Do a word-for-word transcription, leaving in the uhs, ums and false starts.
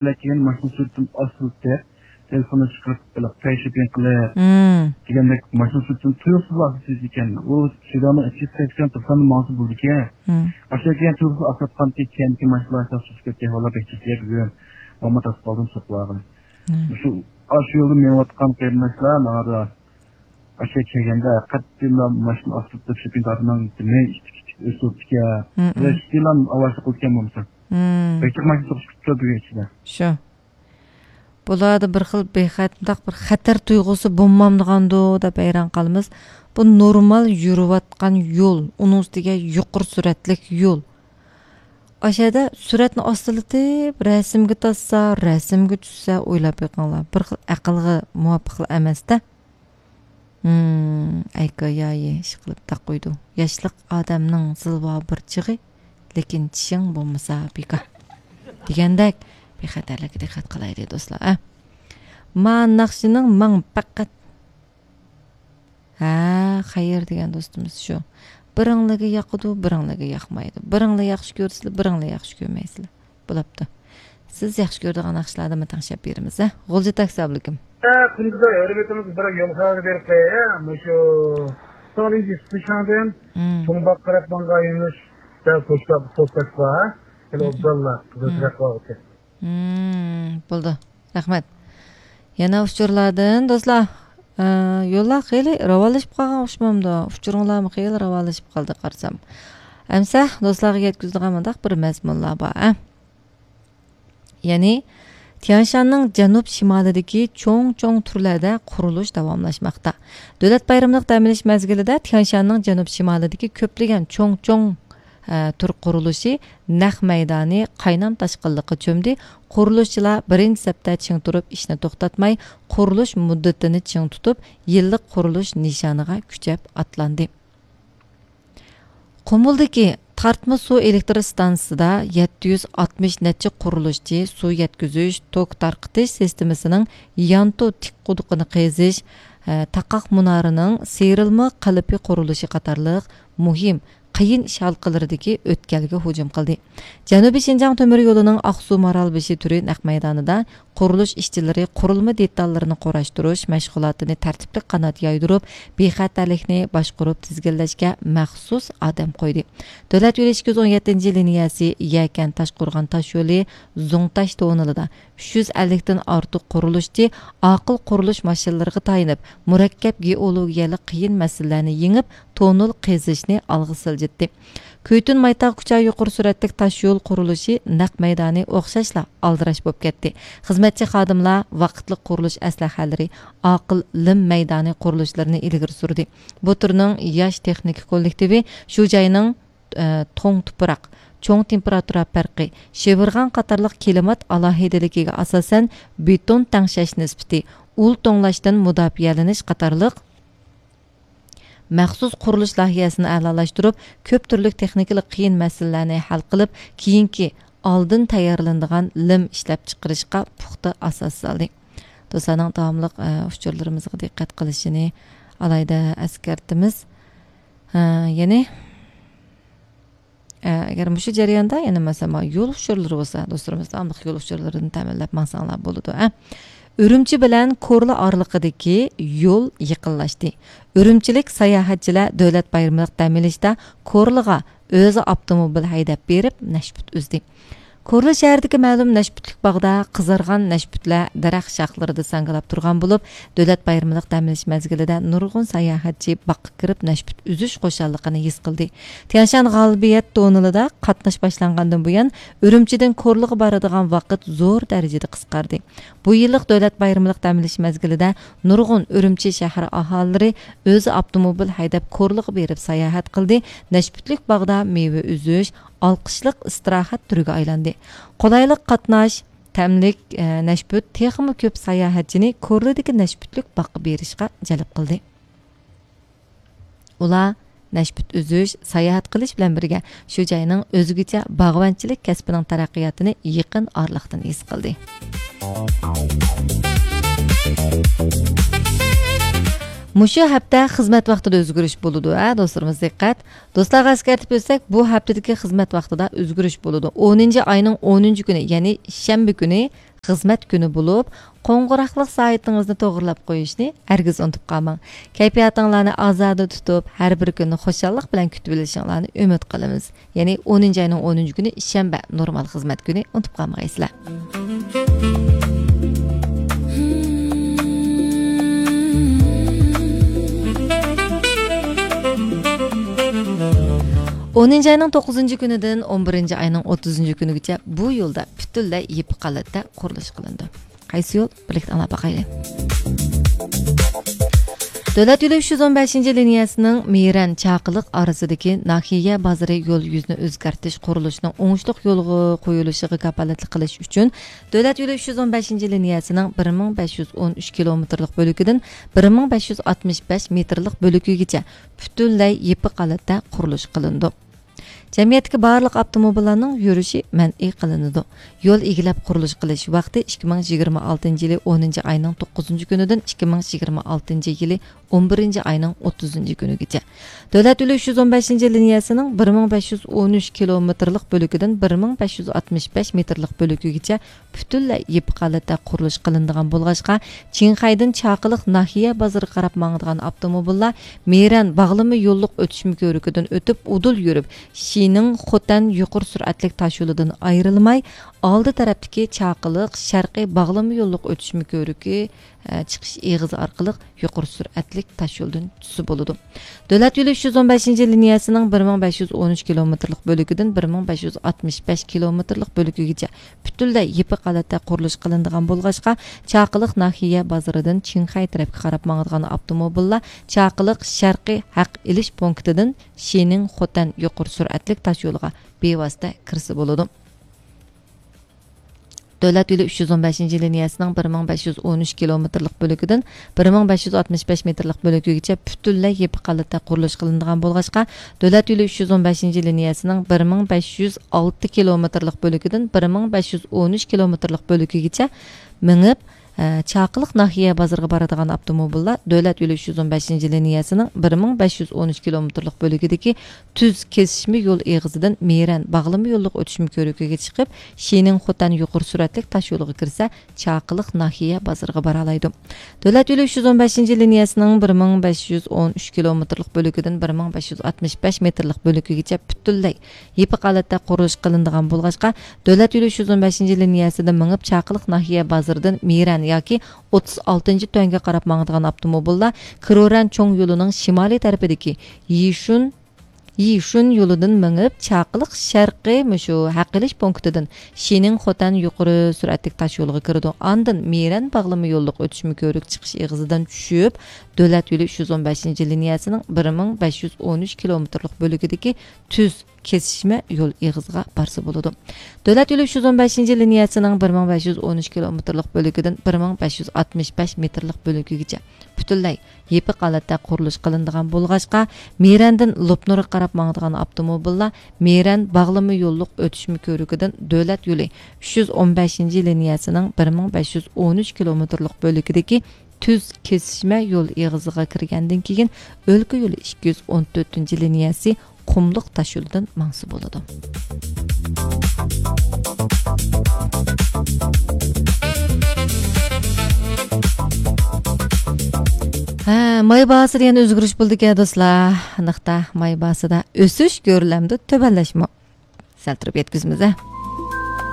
كېلىپ كەلگەن ماشىنا سۈرئىتىنى ئاستىلىتىپ، تېلېفوننى چىقىرىپ، بېلىق پەيشىپىڭ قىلىپ، مم، دېگەندەك ماشىنا سۈرئىتىنى تۇيۇقسىز ئاستىلىتىدىكەن. ئۇ سىگنالنىڭ ئىچىگە سەكسەن توقسان ماڭسا بولىدىكەن. مم. ئاشۇ كېيىن تۇيۇقسىز ئاستىلاتقانتى كەينىدىكى ماشىنىلار سۇسۇپ كەتتى. ۋاللا بەك چېكىيە بۈگۈن. ماما تاسقا قالدىم سوقۇلغان. مم. مۇشۇ، ئاشۇ يولدا مېڭىۋاتقان قېرىنداشلار ماڭا ئاشۇ كەلگەندە قەتئىيلا ماشىنا ئاستىلىتىپ شېپىن تارتماڭ، مەي ئىتتىك ئىتتىك ئۆسۈپ تۇرۇپتىكەن. مم، مم. ۋە ئىككىلام ئاۋاشلىق قىلىدىكەن بولمىسا. مم. بەك جىق ماشىنا سوقۇشۇپ كېتىپتۇ بۈگۈن ئىچىدە. شۇ. بۇلاردا بىر خىل بىخەت-، مۇنداق بىر خەتەر تۇيغۇسى بولمامدىغاندۇ دەپ ھەيران قالىمىز. بۇ نورمال يۈرۈۋاتقان يول، ئۇنىڭ ئۈستىگە يۇقىرى سۈرئەتلىك يول. ئاشۇ يەردە سۈرئەتنى ئاستىلىتىپ، رەسىمگە تارتسا، رەسىمگە چۈشسە، ئويلاپ بېقىڭلار. بىر خىل ئەقىلگە مۇۋاپىقلا ئەمەس-دە. ھىم، ئەيكا يايى ئىشقىلىپ تاقۇيدۇ. ياشلىق ئادەمنىڭ زىلۋا بىر چېغى، لېكىن چىشىڭ بولمىسا بىكار. دېگەندەك، بىخەتەرلىككە دىققەت قىلايلى، دوستلار، ئە. ما ناخشىنىڭ ماڭ پەقەت. ھە، خەير دېگەن دوستىمىز شۇ. بىرىڭلىگە ياقىدۇ، بىرىڭلىگە ياقمايدۇ. بىرىڭلار ياخشى كۆرىسىلەر، بىرىڭلار ياخشى كۆرمەيسىلەر. بولاپتۇ. سىز ياخشى كۆرىدىغان ناخشىلاردىنمۇ تەڭشەپ بېرىمىز، ھە؟ غۇلجا تاكسى، ئابلىكىم. ھە، كۈندىزى ھۆرمىتىمىز بىر يول خەۋىرى بېرىپ قوياي، ھە؟ مۇشۇ سونىنجى سۇشاڭدىن مم، چوڭباغقا قاراپ ماڭغان يۆنىلىشتە پوچتا، پوستاش بار، ھە؟ ھېلى مم، ئوبدانلا مم، قىزىلچىراغ ۋاقتى. مم، بولدى. رەھمەت. يەنە ئۇچۇرلاردىن، دوستلار. ئە، يوللار خېلى راۋانلىشىپ قالغان ئوخشىمامدۇ؟ ئۇچۇرۇڭلارمۇ خېلى راۋانلىشىپ قالدى قارىسام. ئەمسە دوستلارغا يەتكۈزىدىغان مۇنداق بىر مەزمۇنلار بار، ئە. يەنى، تيانشاننىڭ جەنۇب شىمالىدىكى چوڭ-چوڭ تۈرلەردە قۇرۇلۇش داۋاملاشماقتا. دۆلەت بايرىمىلىق دەم ئېلىش مەزگىلىدە تيانشاننىڭ جەنۇب شىمالىدىكى كۆپلىگەن چوڭ-چوڭ، ئە، تۈر قۇرۇلۇشى نەق مەيدانى قاينام تاشقىنلىققا چۆمدى. قۇرۇلۇشچىلار بىرىنچى سەپتە چىڭ تۇرۇپ ئىشنى توختاتماي، قۇرۇلۇش مۇددىتىنى چىڭ تۇتۇپ، يىللىق قۇرۇلۇش نىشانىغا كۈچەپ ئاتلاندى. قۇمۇلدىكى تارتما سۇ ئېلېكتر ئىستانسىسىدا يەتتە يۈز ئاتمىش نەچچە قۇرۇلۇشچى سۇ يەتكۈزۈش، توك تارقىتىش سىستېمىسىنىڭ يانتۇ تىك قۇدۇقىنى قېزىش، ھە، تاقاق مۇنارىنىڭ سىيرىلما قېلىپى قۇرۇلۇشى قاتارلىق مۇھىم، قىيىن ئىش ھالقىلىرىدىكى ئۆتكەلگە ھۇجۇم قىلدى. جەنۇبىي شىنجاڭ تۆمۈر يولىنىڭ ئاقسۇ مارالبېشى تۈرى نەق مەيدانىدا قۇرۇلۇش ئىشچىلىرى قۇرۇلما دېتاللىرىنى قۇراشتۇرۇش مەشغۇلاتىنى تەرتىپلىك قانات يايدۇرۇپ، بىخەتەرلىكنى باشقۇرۇپ تىزگىنلەشكە مەخسۇس ئادەم قويدى. دۆلەت يولى ئىككى يۈز ئون يەتتىنچى لىنىيەسى يەكەن تاشقورغان تاشيولى زۇڭتاش توننېلىدا ئۈچ يۈز ئەللىكتىن ئارتۇق قۇرۇلۇشچى ئاقىل قۇرۇلۇش ماشىنىلىرىغا تايىنىپ، مۇرەككەپ گېئولوگىيەلىك قىيىن مەسىلىلەرنى يېڭىپ، توننېل قېزىشنى ئالغا سىلجىتتى. كۈيتۈن مايتاغ كۇچا يۇقىرى سۈرئەتلىك تاش يول قۇرۇلۇشى نەق مەيدانى ئوخشاشلا ئالدىراش بولۇپ كەتتى. خىزمەتچى خادىملار ۋاقىتلىق قۇرۇلۇش ئەسلىھەلىرى، ئاقىل لىم مەيدانى قۇرۇلۇشلىرىنى ئىلگىرى سۈردى. بۇ تۈرنىڭ ياش تېخنىكا كوللېكتىپى شۇ جاينىڭ، ئە، توڭ تۇپراق، چوڭ تېمپېراتۇرا پەرقى، شىۋىرغان قاتارلىق كىلىمات ئالاھىدىلىكىگە ئاساسەن، بېتون تەڭشەش نىسبىتى، ئۇل توڭلاشتىن مۇداپىئەلىنىش قاتارلىق مەخسۇس قۇرۇلۇش لايىھەسىنى ئەلالاشتۇرۇپ، كۆپ تۈرلۈك تېخنىكىلىق قىيىن مەسىلىلەرنى ھەل قىلىپ، كېيىنكى ئالدىن تەييارلىنىدىغان لىم ئىشلەپچىقىرىشقا پۇختا ئاساس سالدى. دوستلارنىڭ داۋاملىق، ئە، ئۇچۇرلىرىمىزغا دىققەت قىلىشىنى ئالاھىدە ئەسكەرتىمىز. ئە، يەنى، ئە، ئەگەر مۇشۇ جەرياندا يەنە مەسىلەن، مانا يول ئۇچۇرلىرى بولسا، دوستلىرىمىز داۋاملىق يول ئۇچۇرلىرىنى تەمىنلەپ ماڭساڭلار بولىدۇ، ئە. ئۈرۈمچى بىلەن كورلا ئارىلىقىدىكى يول يېقىنلاشتى. ئۈرۈمچىلىك ساياھەتچىلەر دۆلەت بايرىملىق دەم ئېلىشتا كورلىغا ئۆزى ئاپتوموبىل ھەيدەپ بېرىپ، نەشپۈت ئۈزدى. كورلا شەھىرىدىكى مەلۇم نەشپۈتلۈك باغدا قىزارغان نەشپۈتلەر دەرەخ شاخلىرىدا ساڭگىلاپ تۇرغان بولۇپ، دۆلەت بايرىملىق دەم ئېلىش مەزگىلىدە نۇرغۇن ساياھەتچى باغقا كىرىپ نەشپۈت ئۈزۈش خۇشاللىقىنى ھېس قىلدى. تيانشان غالىبىيەت توننېلىدا قاتناش باشلانغاندىن بۇيان، ئۈرۈمچىدىن كورلىغا بارىدىغان ۋاقىت زور دەرىجىدە قىسقاردى. بۇ يىللىق دۆلەت بايرىملىق دەم ئېلىش مەزگىلىدە نۇرغۇن ئۈرۈمچى شەھەر ئاھالىلىرى ئۆزى ئاپتوموبىل ھەيدەپ كورلىغا بېرىپ ساياھەت قىلدى، نەشپۈتلۈك باغدا مېۋە ئۈزۈش ئالقىشلىق ئىستىراھەت تۈرىگە ئايلاندى. قولايلىق قاتناش، تەملىك، ئە، نەشپۈت تېخىمۇ كۆپ ساياھەتچىنى كورلىدىكى نەشپۈتلۈك باغقا بېرىشقا جەلپ قىلدى. ئۇلار نەشپۈت ئۈزۈش، ساياھەت قىلىش بىلەن بىرگە، شۇ جاينىڭ ئۆزگىچە باغۋەنچىلىك كەسپىنىڭ تەرەققىياتىنى يېقىن ئارىلىقتىن ھېس قىلدى. مۇشۇ ھەپتە خىزمەت ۋاقتىدا ئۆزگىرىش بولىدۇ، ھە، دوستلىرىمىز، دىققەت! دوستلارغا ئەسكەرتىپ ئۆتسەك، بۇ ھەپتىدىكى خىزمەت ۋاقتىدا ئۆزگىرىش بولىدۇ. ئونىنچى ئاينىڭ ئونىنچى كۈنى، يەنى شەنبە كۈنى خىزمەت كۈنى بولۇپ، قوڭغۇراقلىق سائىتىڭىزنى توغرىلاپ قويۇشنى ھەرگىز ئۇنتۇپ قالماڭ. كەيپىياتىڭلارنى ئازادە تۇتۇپ، ھەر بىر كۈننى خۇشاللىق بىلەن كۈتۈۋېلىشىڭلارنى ئۈمىد قىلىمىز. يەنى ئونىنچى ئاينىڭ ئونىنچى كۈنى شەنبە نورمال خىزمەت كۈنى، ئۇنتۇپ قالمىغايسىلەر. ئونىنچى ئاينىڭ توققۇزىنچى كۈنىدىن ئون بىرىنچى ئاينىڭ ئوتتۇزىنچى كۈنىگىچە بۇ يولدا پۈتۈنلەي يېپىق ھالەتتە قۇرۇلۇش قىلىنىدۇ. قايسى يول؟ بىرلىكتە ئاڭلاپ باقايلى. دۆلەت يولى ئۈچ يۈز ئون بەشىنچى لىنىيەسىنىڭ مىرەن چاقىلىق ئارىسىدىكى ناھىيە بازىرى يول يۈزىنى ئۆزگەرتىش قۇرۇلۇشىنىڭ ئوڭۇشلۇق يولغا قويۇلۇشىغا كاپالەتلىك قىلىش ئۈچۈن، دۆلەت يولى ئۈچ يۈز ئون بەشىنچى لىنىيەسىنىڭ بىر مىڭ بەش يۈز ئون ئۈچ كىلومېتىرلىق بۆلىكىدىن بىر مىڭ بەش يۈز ئاتمىش بەش مېتىرلىق بۆلىكىگىچە پۈتۈنلەي يېپىق ھالەتتە قۇرۇلۇش قىلىنىدۇ. جەمئىيەتتىكى بارلىق ئاپتوموبىللارنىڭ يۈرۈشى مەنئى قىلىنىدۇ. يول ئىگىلەپ قۇرۇلۇش قىلىش ۋاقتى ئىككى مىڭ يىگىرمە ئالتىنچى يىلى ئونىنچى ئاينىڭ توققۇزىنچى كۈنىدىن ئىككى مىڭ يىگىرمە ئالتىنچى يىلى ئون بىرىنچى ئاينىڭ ئوتتۇزىنچى كۈنىگىچە. دۆلەت يولى ئۈچ يۈز ئون بەشىنچى لىنىيەسىنىڭ بىر مىڭ بەش يۈز ئون ئۈچ كىلومېتىرلىق بۆلىكىدىن بىر مىڭ بەش يۈز ئاتمىش بەش مېتىرلىق بۆلىكىگىچە پۈتۈنلەي يېپىق ھالەتتە قۇرۇلۇش قىلىنىدىغان بولغاچقا، چىڭخەيدىن چاقىلىق ناھىيە بازىرىغا قاراپ ماڭىدىغان ئاپتوموبىللار مىرەن باغلىما يوللۇق ئۆتۈشمە كۆۋرۈكىدىن ئۆتۈپ، ئۇدۇل يۈرۈپ، شىنىڭ خوتەن يۇقىرى سۈرئەتلىك تاشيولىدىن ئايرىلماي، ئالدى تەرەپتىكى چاقىلىق شەرقىي باغلىما يوللۇق ئۆتۈشمە كۆۋرۈكى، ئە، چىقىش ئېغىزى ئارقىلىق يۇقىرى سۈرئەتلىك تاشيولدىن چۈشسە بولىدۇ. دۆلەت يولى ئۈچ يۈز ئون بەشىنچى لىنىيەسىنىڭ بىر مىڭ بەش يۈز ئون ئۈچ كىلومېتىرلىق بۆلىكىدىن بىر مىڭ بەش يۈز ئاتمىش بەش كىلومېتىرلىق بۆلىكىگىچە پۈتۈنلەي يېپىق ھالەتتە قۇرۇلۇش قىلىنىدىغان بولغاچقا، چاقىلىق ناھىيە بازىرىدىن چىڭخەي تەرەپكە قاراپ ماڭىدىغان ئاپتوموبىللار چاقىلىق شەرقىي ھەق ئېلىش پونكىتىدىن شىنىڭ خوتەن يۇقىرى سۈرئەتلىك تاشيولىغا بىۋاسىتە كىرسە بولىدۇ. دۆلەت يولى ئۈچ يۈز ئون بەشىنچى لىنىيەسىنىڭ بىر مىڭ بەش يۈز ئون ئۈچ كىلومېتىرلىق بۆلىكىدىن بىر مىڭ بەش يۈز ئاتمىش بەش مېتىرلىق بۆلىكىگىچە پۈتۈنلەي يېپىق ھالەتتە قۇرۇلۇش قىلىنىدىغان بولغاچقا، دۆلەت يولى ئۈچ يۈز ئون بەشىنچى لىنىيەسىنىڭ بىر مىڭ بەش يۈز ئالتە كىلومېتىرلىق بۆلىكىدىن بىر مىڭ بەش يۈز ئون ئۈچ كىلومېتىرلىق بۆلىكىگىچە مېڭىپ، ئە، چاقىلىق ناھىيە بازىرىغا بارىدىغان ئاپتوموبىللار دۆلەت يولى ئۈچ يۈز ئون بەشىنچى لىنىيەسىنىڭ بىر مىڭ بەش يۈز ئون ئۈچ كىلومېتىرلىق بۆلىكىدىكى تۈز كېسىشمە يول ئېغىزىدىن مىرەن باغلىما يوللۇق ئۆتۈشمە كۆۋرۈكىگە چىقىپ، شىنىڭ خوتەن يۇقىرى سۈرئەتلىك تاشيولىغا كىرسە، چاقىلىق ناھىيە بازىرىغا بارالايدۇ. دۆلەت يولى ئۈچ يۈز ئون بەشىنچى لىنىيەسىنىڭ بىر مىڭ بەش يۈز ئون ئۈچ كىلومېتىرلىق بۆلىكىدىن بىر مىڭ بەش يۈز ئاتمىش بەش مېتىرلىق بۆلىكىگىچە پۈتۈنلەي يېپىق ھالەتتە قۇرۇلۇش قىلىنىدىغان بولغاچقا، دۆلەت يولى ئۈچ يۈز ئون بەشىنچى لىنىيەسىدە مېڭىپ، چاقىلىق ناھىيە بازىرىدىن مىرەن ياكى ئوتتۇز ئالتىنچى تۈەنگە قاراپ ماڭىدىغان ئاپتوموبىللار كرورەن چوڭ يولىنىڭ شىمالىي تەرىپىدىكى يىشۇن، يىشۇن يولىدىن مېڭىپ، چاقىلىق شەرقىي مۇشۇ ھەق ئېلىش پونكىتىدىن شىنىڭ خوتەن يۇقىرى سۈرئەتلىك تاشيولىغا كىرىدۇ. ئاندىن مىرەن باغلىما يوللۇق ئۆتۈشمە كۆۋرۈك چىقىش ئېغىزىدىن چۈشۈپ، دۆلەت يولى ئۈچ يۈز ئون بەشىنچى لىنىيەسىنىڭ بىر مىڭ بەش يۈز ئون ئۈچ كىلومېتىرلىق بۆلىكىدىكى تۈز كېسىشمە يول ئېغىزىغا بارسا بولىدۇ. دۆلەت يولى ئۈچ يۈز ئون بەشىنچى لىنىيەسىنىڭ بىر مىڭ بەش يۈز ئون ئۈچ كىلومېتىرلىق بۆلىكىدىن بىر مىڭ بەش يۈز ئاتمىش بەش مېتىرلىق بۆلىكىگىچە پۈتۈنلەي يېپىق ھالەتتە قۇرۇلۇش قىلىنىدىغان بولغاچقا، مىرەندىن لوپنۇرغا قاراپ ماڭىدىغان ئاپتوموبىللار مىرەن باغلىما يوللۇق ئۆتۈشمە كۆۋرۈكىدىن دۆلەت يولى ئۈچ يۈز ئون بەشىنچى لىنىيەسىنىڭ بىر مىڭ بەش يۈز ئون ئۈچ كىلومېتىرلىق بۆلىكىدىكى تۈز كېسىشمە يول ئېغىزىغا كىرگەندىن كېيىن، ئۆلكە يولى ئىككى يۈز ئون تۆتىنچى لىنىيەسى قۇملۇق تاشيولىدىن ماڭسا بولىدۇ. ھە، ماي باھاسىدا يەنە ئۆزگىرىش بولدىكەن، دوستلار. نىقتا ماي باھاسىدا ئۆسۈش كۆرۈلەمدۇ، تۆۋەنلەشمۇ؟ سەل تۇرۇپ يەتكۈزىمىز، ھە.